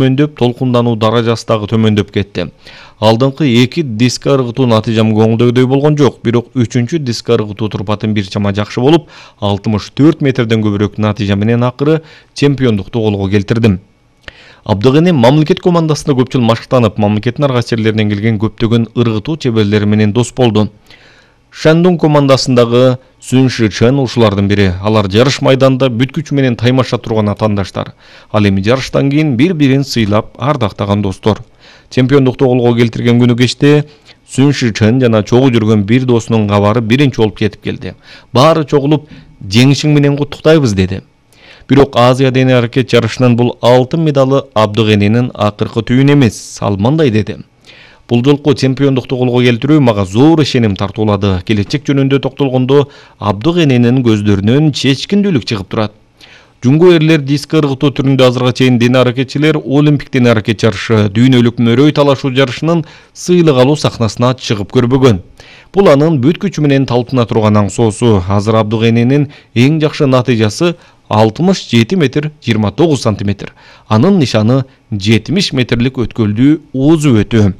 төмөндөп, толкундануу даражасы дагы төмөндөп кетти. Алдыңкы 2 диск ыргытуу натыйжам көңүлдөгүдөй болгон жок, бирок 3-чү диск ыргытуу турпатым бир чама жакшы болуп, 64 метрден көбүрөөк натыйжа менен акыры чемпиондукту колго келтирдим. Абдыгене мамлекет командасында көп жыл машыктанып, мамлекеттин ар кайсы жерлеринен келген көптөгөн ыргытуу чеберлери менен дос болду. Шандун командасындагы Сүн Шичен ушулардын бири. Алар жарыш майданында бүт күч менен таймаша турган атаандаштар. Ал эми жарыштан кийин бири-бирин сыйлап, ардактаган достор. Чемпиондукту колго келтирген күнү кечте Сүн Шичен жана чогуу жүргөн бир досунун кабары биринчи болуп кетип келди. Баары чогулуп, жеңишиң менен куттуктайбыз деди. Бирок Азия дене аракет жарышынын бул алтын медалы Абдыгененин акыркы түйүнү эмес. Ал мындай деди: Бул жолку чемпиондукту колго келтирүү мага зор ишеним тартуулады. Келечек жөнүндө токтолгондо Абдыгененин көздөрүнөн чечкиндүүлүк чыгып турат. Жунго эрлер диск ыргытуу түрүндө азыркыга чейин дене аракетчилер Олимпик дене аракет жарышы, дүйнөлүк мөрөй талашуу жарышынын сыйлык алуу сахнасына чыгып көрбөгөн. Бул анын бүт күчү менен талпына турган аңсоосу. Азыр Абдыгененин эң жакшы натыйжасы 67 метр 29 сантиметр. Анын нишаны 70 метрлик өткөлдүү озу өтүү.